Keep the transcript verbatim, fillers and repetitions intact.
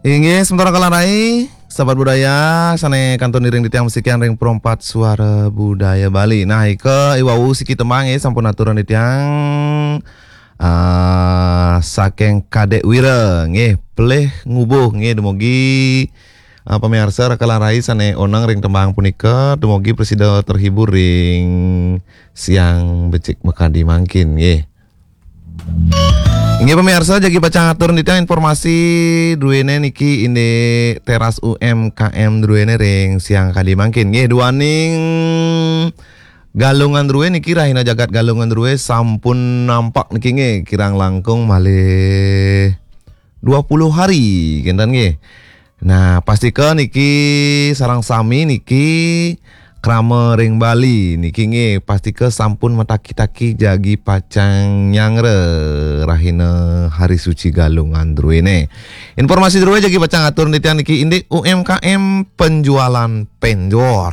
Inggih, sementara kalarai, sahabat budaya, sane kantun iring titiang masikian ring Perempat Suara Budaya Bali. Nah, ika iwau siki tembang, nggih, sampun aturan titiang, ah, saking Kadek Wira, nggih, Pelih Ngubuh, nggih, dumugi, ah, pamiarsa kalarai sane oneng ring tembang punika, dumugi prasida terhibur ring siang becik makadi mangkin, nggih. Inggih pamiarsa, jagi pacang atur nitih informasi druene niki indik teras U M K M druene ring siang kadi mangkin. Nggih, duaning Galungan Drue niki, rahina jagat Galungan Drue sampun nampak niki, nggih, kirang langkung malih dua puluh hari, kinten, nggih. Nah, pastika niki sareng sami niki krama ring Bali niki, nggih, pastika sampun mataki-taki jagi pacang nyanggra rahina Hari Suci Galungan Druene. Informasi drue jagi pacang atur nitih titiang niki indik U M K M penjualan penjor.